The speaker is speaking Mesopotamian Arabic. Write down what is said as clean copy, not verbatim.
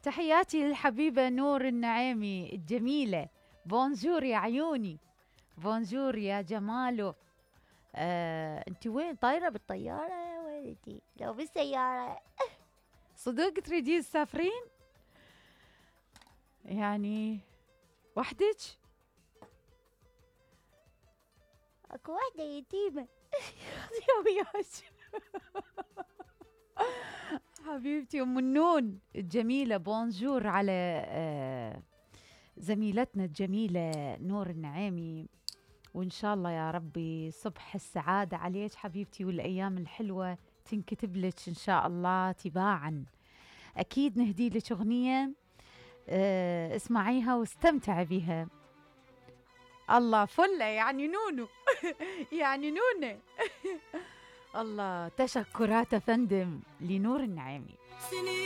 تحياتي للحبيبة نور النعيمي الجميلة. بونجور يا عيوني، بونجور يا جمالو. انتي وين طايرة بالطيارة وين انتي؟ لو بالسيارة صدق تريدين تسافرين؟ يعني وحدك؟ اكو وحدة يتيمة يا وياك حبيبتي ام النون الجميلة. بونجور على زميلتنا الجميلة نور النعيمي، وإن شاء الله يا ربي صبح السعادة عليك حبيبتي، والأيام الحلوة تنكتب لك إن شاء الله تباعا. أكيد نهدي لك أغنية اسمعيها واستمتعي بها. الله فلة يعني نونو يعني نونة الله. تشكرات فندم لنور النعيمي.